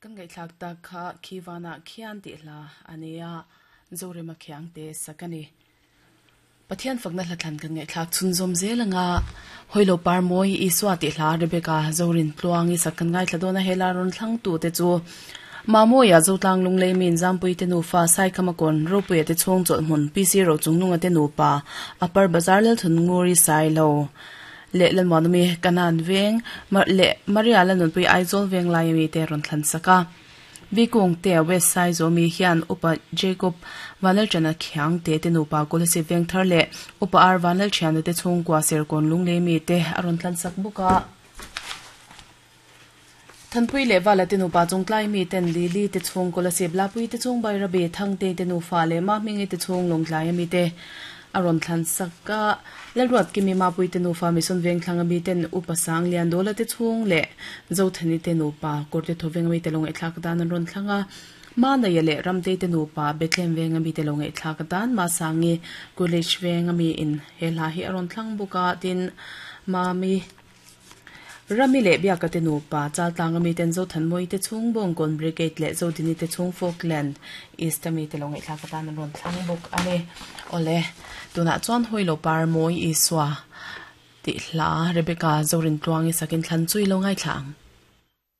Kan ngaihthlak tak kha khi vanah khian tih hla a nia, Zorema Khiangte sak a ni. Pathian fakna hlathlan kan ngaihthlak chhunzawm zel anga Hawilo Par Mawi Isua tih hla Rebecca Zorin Tluangi sak kan ngaithla dawn a, hela rawn thlangtute chu Mamawia Zotlang Lunglei Min Zampuite nufa Saikhama Kawn Ropuia te chhung chawlhhmun PC Rochungnunga te nupa Upper Bazar Lalthun Nguri Sailo leh Lalmuanawmi Kanan veng leh Maria Lalnunpui Aizawl veng laia mite rawn thlan sak a. Vikungte West Saizaw mi hian Upa Jacob Vanlalṭana Khiangte te nupa Kolasib Vengthar leh Upa R Vanlalṭhiana te chhungkua Serkawn Lunglei mite a rawn tlan sak bawk a. Thanpui leh Vala te nupa Chungtlai miten Lily te chhung Kolasib Lapui te chhung Bairabi Thangte te nufa leh Mahmingi te chhung Lawngtlaia mite a rawn thlan sak a. Lalruatkimi Mapuite nufa Mission Vengthlang ami ten Upa Sang Liandawla te chhung leh Zothani te nupa Kawrte Thoveng ami te lo ngaihthlak dan an rawn thlang a. Manaia leh Ramtei te nupa Bethlehem Veng ami te lo ngaihthlak dan Masangi College Veng ami in he hla hi a rawn thlang bawk a. Tin, Mami Rami leh Biaka te nupa Chaltlang ami ten Zothanmawii te chhung Bawngkawn Brigade leh Zodini te chhung Falkland East ami te lo ngaihthlak atan an rawn thlang bawk a ni. Awle, tunah chuan Hawilo Par Mawi Isua tih hla Rebecca Zorintluangi sakin thlan chui lo ngaithla ang.